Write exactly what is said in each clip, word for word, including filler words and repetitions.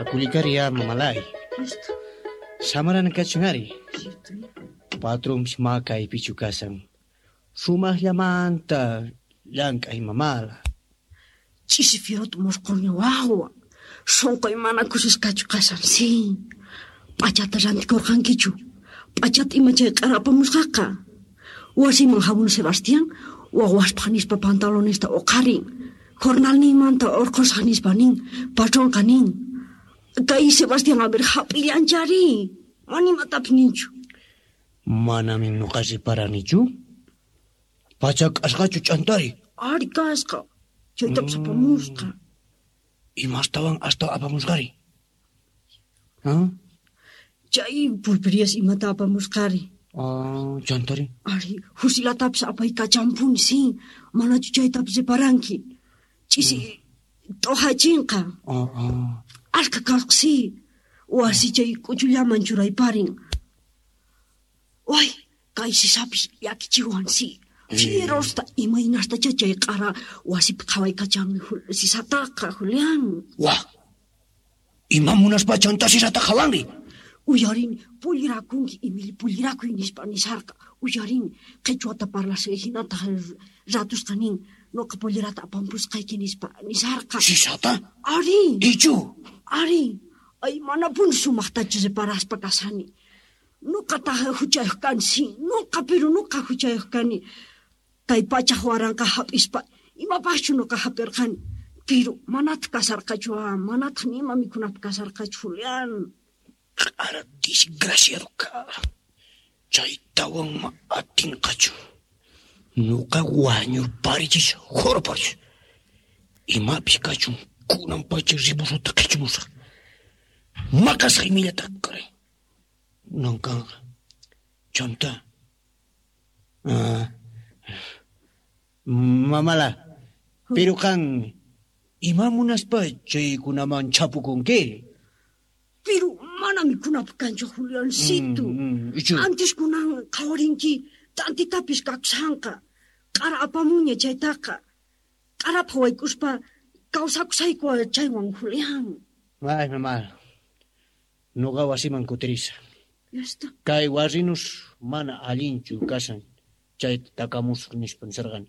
Akulikari ya mamalay. Justo, Samarana kachun ari. cierto. Patronpis ma kaypichu kashan. Sumaqllamanta llank'ay mamala. Ch'isi fierota mosqoña wawa. Sonqoy mana kusisqachu kashan, sí. P'achata rantikurqankichu. P'achata ima chay q'ara apamusqaqa. Wasiman hamun Sebastián, wawaspaq nispa pantalonesta uqharin. Jornalninmanta urqhusaq nispa nin, patronqa nin. Kay Sebastián a ver hap'illanchari. Mana imatapis ninchu. Manami nuqa riparanichu. Pacha k'asqachu ch'antari. Ari kasqa. Chaytapis apamusqa. Imastawan asta apamusqari? Ah, Chay pulperias imata apamusqari. ah, chantari. Ari, fusilatapis apaykachanpuni, sí. Manachu chaytapis riparanki. Ch'isi t'uhachinqa. Ah, ah. Ashka kasqa, sí. Wasi chay k'uchullaman churayparin. Way, kay sisapis llakichiwan, sí. Fierosta imaynastachá chay q'ara wasipi qhawaykachan sisataqa, Julián. Wah. Ima munaspa chanta sisata qhawanri? Uyarini, pullirakunki, Emily, pullirakuy nispa nisharqa. Uyarini, qhichwata parlasqa hinataq ratusqa nin, noqa pollirata apampusqayki nispa nisharqa. Sisata? Ari, Ichu. ari, ay manapuni sumaqtachu reparaspa kashani. Noqataq huchayuq kani, sí, noqa pero noqa huchayuq kani. Kay pachaj waranqa hap'ispa, imapaqchu noqa hap'irqani. Pero manataq kasarqachu, ah, manataq ni ima mikhunapaq kasarqachu, Julián. Q'ara desgraciado ka. Chaytawan ma atinqachu. Nuqa wañurparichis khurparichis. Imapis kachun kunan pacha ribusuta qhichumusaq. Maqasaq imillata karay. Kunan kanqa. Chanta. Ah, mamala, pero qan ima munaspa chaykunaman chapukunki? Pero mana mikhunapaq kanchu, Juliancito. Mm, mm, ichu. Antes kunan qhawarinki t'antitapis kakushanqa. Q'ara apamunña chaytaqa. Q'arapaq wayk'uspa kawsakusayku chaywan, Julián. Ay, mamala. Nuqa wasiman kutirisa. Ya está. Kay warrinus mana allinchu kashan chayta takamusaq nispa nisarqani.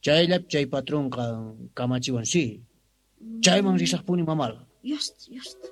Chayllapi chay patronqa kamachiwan, sí. Chayman risaqpuni mamala. Ya está, ya está.